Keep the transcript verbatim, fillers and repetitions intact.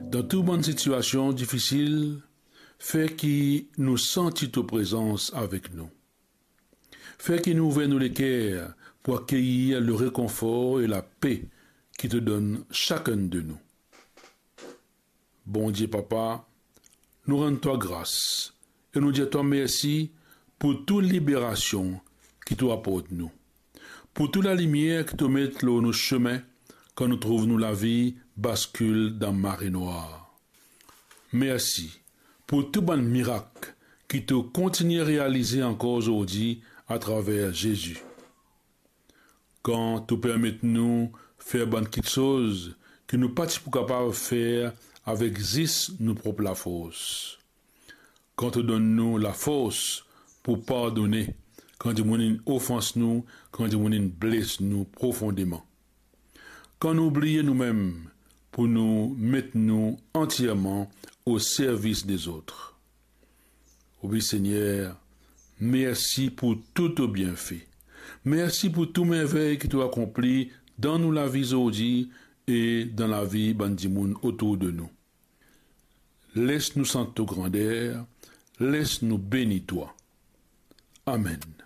Dan tou bann sitiasion difisil, fer ki nou santi to prezans avek nou. Fer ki nou ouver nou leker pou akeyir le rekonfor e lape ki to donn sakenn de nou. Bondie Papa, nou rann twa gras e nou dir twa mersi pou tou liberasion ki to aport nou, pou tou lalimier ki to met lor nou sime kan nou trouv nou lavi baskil dan mare nwar. Mersi pou tou bann mirak ki to kontigne realize ankor zordi atraver Zezi. Kan to permet nou fer bann kiksoz ki nou pa ti pou kapav fer avek zis nou prop lafors. Kan to donn nou lafors pou pardone kan dimoun inn ofans nou, kan dimoun inn bles nou profondeman. Kan nou bliye noumem pou nou met nou antierman o servis dezot. Wi, Segner, mersi pou tou to bienfe. Mersi pou tou mervey ki to akonpli dan nou lavi zordi e dan lavi bann dimoun otour de nou. Les nou sant to grander, les nou beni twa. Amen.